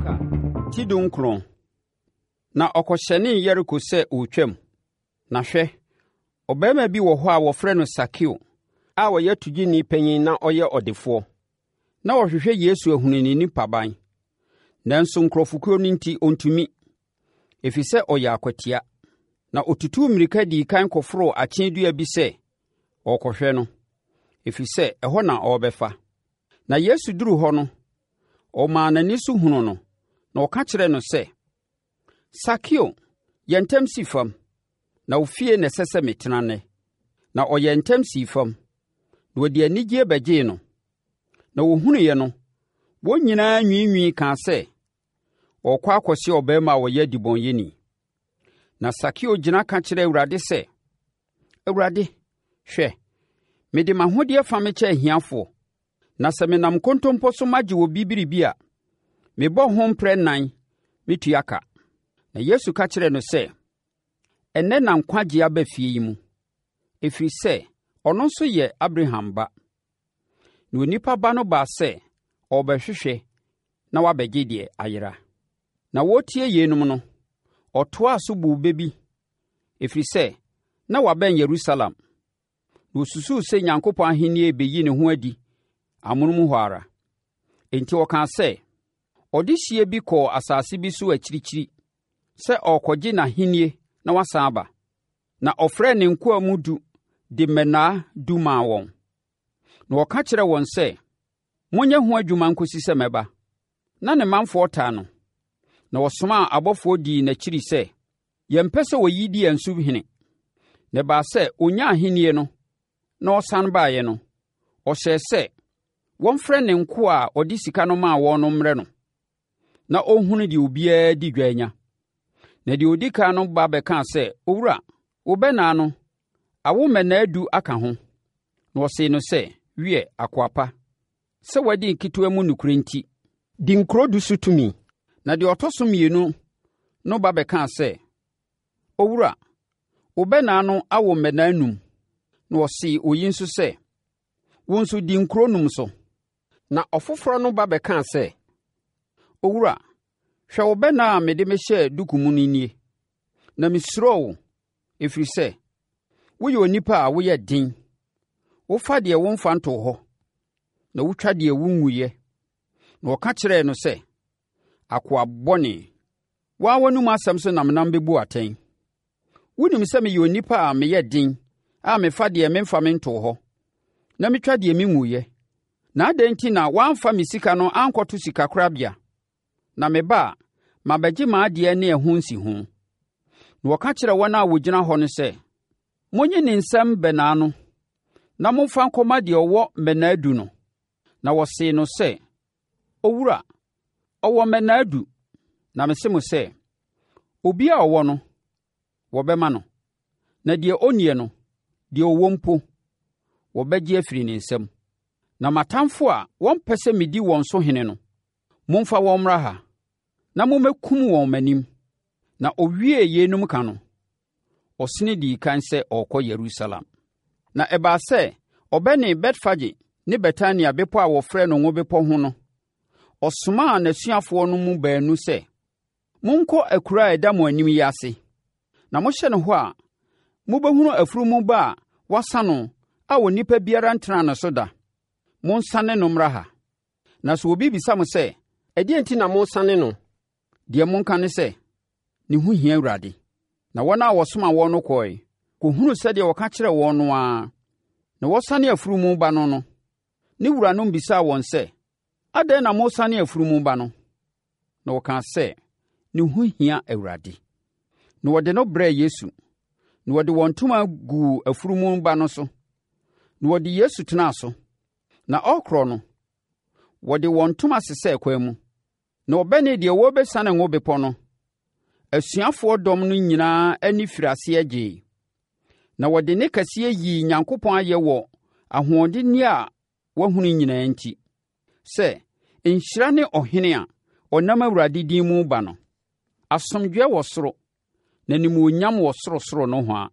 Luka ti 19. Na ɔkɔhyɛnee Yeriko sɛ ɔretwam. Na hwɛ, ɔbarima bi wɔ hɔ a wɔfrɛ no Sakeo a ɔyɛ togyeni panin na ɔyɛ ɔdefoɔ. Na ɔhwehwɛ Yesu ahunu ne nipaban, nanso nkurɔfokuo no nti ɔntumi, ɛfiri sɛ ɔyɛ akwatia. Na ɔtutuu mmirika dii kan kɔforoo akyee dua bi sɛ ɔrekɔhwɛ no, ɛfiri sɛ ɛhɔ na ɔrebɛfa. Na Yesu duruu hɔ no, ɔmaa n'ani so hunuu no, na ɔka kyerɛɛ no sɛ, Sakeo, yɛ ntɛm si fam, na wo fie na ɛsɛ sɛ metena nnɛ. Na ɔyɛɛ ntɛm sii fam, na wɔde anigyeɛ bɛgyee no. Na wɔhunuiɛ no, wɔn nyinaa nwiinwii kaa sɛ, Ɔrekɔ akɔse ɔbarima a ɔyɛ debɔneyɛni. Na Sakeo gyina ka kyerɛɛ Awurade sɛ, Awurade, hwɛ, mede m'ahodeɛ fa mekyɛ ahiafoɔ, na sɛ menam nkontompo so magye obi biribi a, mebɔ ho mprɛ nnan metua ka. Na Yesu ka kyerɛɛ no sɛ, Ɛnnɛ na nkwagyeɛ aba fie yi mu, ɛfiri sɛ ɔno nso yɛ Abraham ba. Na onipa ba no baa sɛ ɔrebɛhwehwɛ na wabɛgye deɛ ayera. Na wɔretie yeinom no, ɔtoaa so buu bɛ bi, ɛfiri sɛ na wabɛn Yerusalem, na ɔsusuu sɛ Nyankopɔn ahennie rebɛyi ne ho adi amonom hɔ ara. Enti ɔkaa sɛ, Ɔdehyeɛ bi kɔɔ asase bi so akyirikyiri sɛ ɔrekɔgye n'ahennie na wasan aba. Na ɔfrɛɛ ne nkoa mu du de mmɛnnaa du maa wɔn. Na ɔka kyerɛɛ wɔn sɛ, Monyɛ ho adwuma nkɔsi sɛ mɛba. Na ne manfoɔ taa no, na wɔsomaa abɔfoɔ dii n'akyiri sɛ, Yɛmpɛ sɛ oyi di yɛn so hene. Na ɛbaa sɛ ɔnyaa ahennie no, na ɔsane baeɛ no, ɔhyɛɛ sɛ wɔmfrɛ ne nkoa a ɔde sika no maa wɔn no mmrɛ no, na ɔnhunu deɛ obiara di dwa anya. Na deɛ ɔdi kan no ba bɛkaa sɛ, Owura, wo bɛnnaa no, awo mmɛnnaa du aka ho. Na ɔsee no sɛ, Wiɛ, akoa pa, sɛ woadi nketewa mu nokorɛ nti, di nkuro du so tumi. Na deɛ ɔtɔ so mmienu no ba bɛkaa sɛ, Owura, wo bɛnnaa no awo mmɛnnaa num. Na ɔsee oyi nso sɛ, Wo nso di nkuro num so. Na ɔfoforɔ no ba bɛkaa sɛ, Owura, hwɛ wo bɛnnaa a mede mehyɛɛ duku mu no nie, na mesuroo wo, ɛfiri sɛ woyɛ onipa a woyɛ den. Wofa deɛ womfa ntoo hɔ, na wotwa deɛ wonguiɛ. Na ɔka kyerɛɛ no sɛ, Akoa bɔne, wo ara w'anomu asɛm so na menam bɛbu wo atɛn. Wonim sɛ meyɛ onipa a meyɛ den a mefa deɛ memfa mentoo hɔ, na metwa deɛ menguiɛ. Na adɛn nti na woamfa me sika no ankɔto sikakorabea, na meba a, mabɛgye m'adeɛ ne ɛho nsiho? Na wɔka kyerɛɛ wɔn a wɔgyina hɔ no sɛ, Monnye ne nsam bɛnnaa no, na momfa nkɔma deɛ ɔwɔ mmɛnnaa du no. Na wɔsee no sɛ, Owura, ɔwɔ mmɛnnaa du. Na mese mo sɛ, obiara a ɔwɔ no, wɔbɛma no, na deɛ ɔnnie no, deɛ ɔwɔ mpo, wɔbɛgye afiri ne nsam. Na m'atamfo a wɔmpɛ sɛ medi wɔn so hene no, momfa wɔn mmra ha, na mommɛkum wɔn m'anim. Na ɔwiee yeinom ka no, ɔsene dii kan sɛ ɔrekɔ Yerusalem. Na ɛbaa sɛ ɔbɛnee Betfage ne Betania bepɔ a wɔfrɛ no Ngo Bepɔ ho no, ɔsomaa n'asuafoɔ no mu baanu sɛ, Monkɔ akuraa a ɛda mo anim yi ase, na mohyɛne hɔ a, mobɛhunu afunumu ba a wɔasa no a onipa biara ntenaa ne so da. Monsane no mmra ha. Na sɛ obi bisa mo sɛ, 'Ɛdeɛn nti na moresane no?' Deɛ monka ne sɛ, 'Ne ho hia Awurade.' Na wɔn a wɔsoma wɔn no kɔe, kɔhunuu sɛdeɛ ɔka kyerɛɛ wɔn no ara. Na wɔresane afunumu ba no no, ne wuranom bisaa wɔn sɛ, Adɛn na moresane afunumu ba no? Na wɔkaa sɛ, Ne ho hia Awurade. Na wɔde no brɛɛ Yesu, na wɔde wɔn ntoma guu afunumu ba no so, na wɔde Yesu tenaa so. Na ɔrekorɔ no, wɔde wɔn ntoma sesɛɛ kwan mu. Na wɔbɛnee deɛ wɔrebɛsiane Ngo Bepɔ no, asuafoɔ dɔm no nyinaa ani firii aseɛ gyee, na wɔde nne kɛseɛ yii Nyankopɔn ayɛ wɔ ahoɔdenneɛ a wɔahunu nyinaa nti, sɛ, Nhyira ne Ɔhene a ɔnam Awurade din mu reba no! Asomdwoeɛ wɔ soro, na animuonyam wɔ sorosoro nohoa.